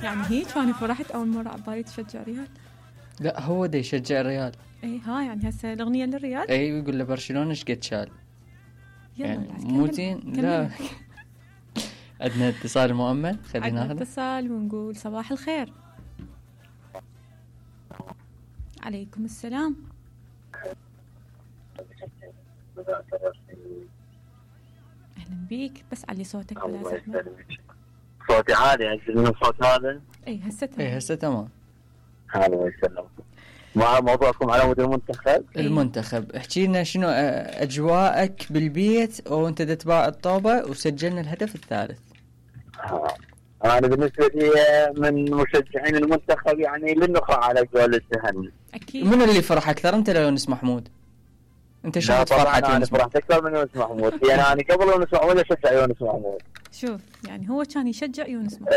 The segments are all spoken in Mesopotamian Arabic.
يعني هيك أنا فرحت أول مرة عبالي تشجع ريال. لا هو دا يشجع الريال. اي ها يعني هسه الأغنية للريال. اي ويقول له برشلونة ايش قد شال يعني مو زين. لا عندنا اتصال مؤمن، خلينا ناخذ اتصال ونقول صباح الخير. عليكم السلام. اهلا بيك، بس علي صوتك بلا زحمه. صوتي عالي عندي من الصوت هذا. اي هسه تمام. اي هسه تمام. الله يسلمك. مع موضوعكم على مود المنتخب. المنتخب، احكي لنا شنو اجواءك بالبيت وانت تتباع الطوبه وسجلنا الهدف الثالث. انا بالنسبه لي من مشجعين المنتخب يعني للنخاع على قول التهني. اكيد. من اللي فرح اكثر، انت لو يونس محمود؟ انت شفت فرحه يونس؟ انا فرحت اكثر من يونس محمود. يعني انا قبل يونس محمود اشجع يونس محمود. شوف يعني هو كان يشجع يونس محمود.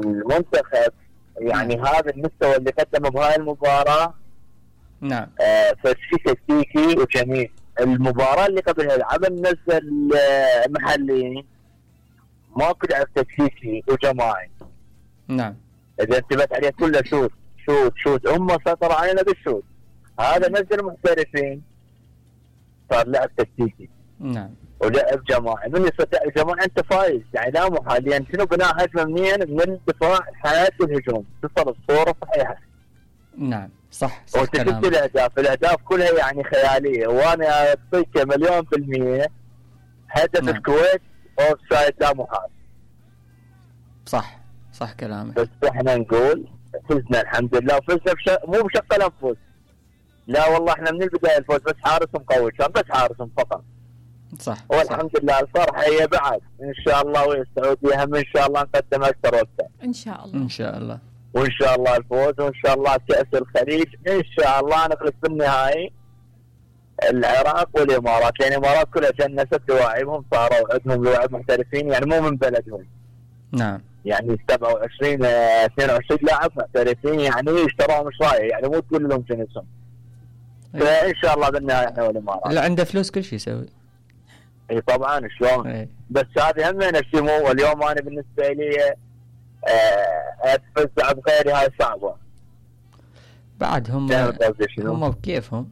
المنتخب يعني هذا المستوى اللي قدمه بهاي المباراه. نعم. فشي تكتيكي وجميل. المباراه اللي قبلها العبن نزل محلي، ماكو لعب تكتيكي وجماعي. نعم. اذا انتبهت عليه كله شوت شوت شوت، هم سيطروا علينا بالشوت. هذا نزل محترفين، صار لعب تكتيكي. نعم. ولعب جماعي. من يستطيع الجماعي انت فايز يعني لا محال. يعني شنو بناء هجمه منين؟ من الدفاع حياه الهجوم، تصل الصوره صحيحه. نعم صح صح. وتشوف الاهداف كلها يعني خياليه، وانا اعطيك 100% هدف. نعم. الكويت اوف سايد لا محال. صح صح كلامك. بس احنا نقول فزنا الحمد لله، فزنا مو بشق الانفس، لا والله احنا من البدايه الفوز، بس حارس مقوي كان، بس حارس فقط. صح. والحمد لله الفرحه هي بعد ان شاء الله، والسعوديه هم ان شاء الله نقدم اكثر واكثر ان شاء الله. ان شاء الله. وان شاء الله الفوز، وان شاء الله كاس الخليج ان شاء الله نخلص بالنهائي العراق والامارات، لان الامارات كلها جنست لواعبهم، صاروا عندهم لواعب محترفين يعني مو من بلدهم. نعم. يعني 27 22 لاعب محترفين يعني اشتروهم مش رايح، يعني مو تقول لهم جنسهم. فان شاء الله بالنهايه احنا والامارات. اللي عنده فلوس كل شيء يسوي. اي طبعا شلون. بس هذه هم الشمو. واليوم انا بالنسبه لي اتفزع بغيري هاي صعبه. بعد هم بكيفهم.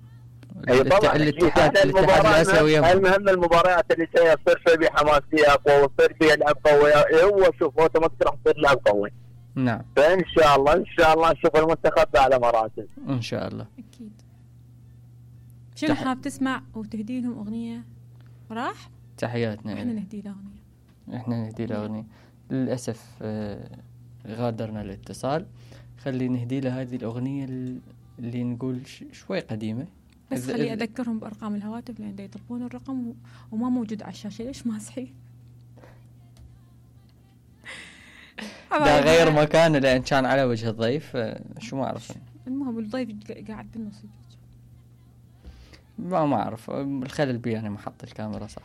اي طبعا الاتحاد لا يسويهم. المهم المباريات اللي تصير فيها بحماسيه اقوى، وتصير فيها لعب قوي. هو شوف اوتوماتيك راح تصير لعب قوي. نعم. فان شاء الله ان شاء الله نشوف المنتخب على مراتب ان شاء الله. اكيد. شنو حاب تسمع وتهدي لهم اغنيه؟ راح تحياتنا. احنا نهدي له اغنيه. احنا نهدي له اغنيه. للاسف غادرنا الاتصال. خلي نهدي له هذه الاغنيه اللي نقول شوي قديمه، بس خلي اذكرهم بارقام الهواتف لان يطلبون الرقم وما موجود على الشاشه. ليش ما صحيح؟ ده غير مكانه لان كان على وجه الضيف. شو ما اعرف. المهم الضيف قاعد بالنص. ما اعرف الخلل بي يعني محط الكاميرا صح.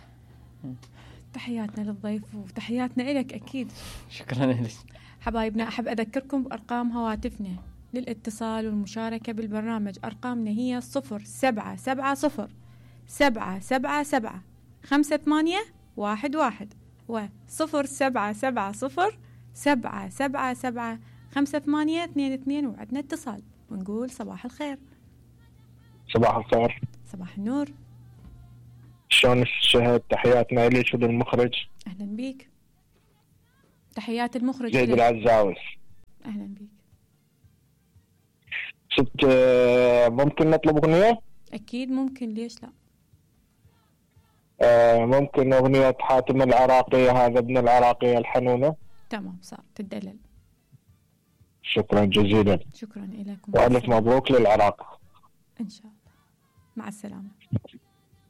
تحياتنا للضيف وتحياتنا إلك أكيد. شكرا لك حبايبنا. أحب أذكركم بأرقام هواتفنا للاتصال والمشاركة بالبرنامج. أرقامنا هي 0770 777 5811 و0770 777 5822 وعدنا اتصال ونقول صباح الخير. صباح الخير. صباح النور. شلون الشهد؟ تحياتنا إليك وللمخرج. أهلا بيك. تحيات المخرج زيد العزاوي. أهلا بيك. ست ممكن نطلب أغنية؟ أكيد ممكن، ليش لا. ممكن أغنية حاتم العراقية، هذا ابن العراقية الحنونة. تمام صار تدلل. شكرا جزيلا. شكرا لكم وألف مبروك للعراق إن شاء الله. مع السلامة.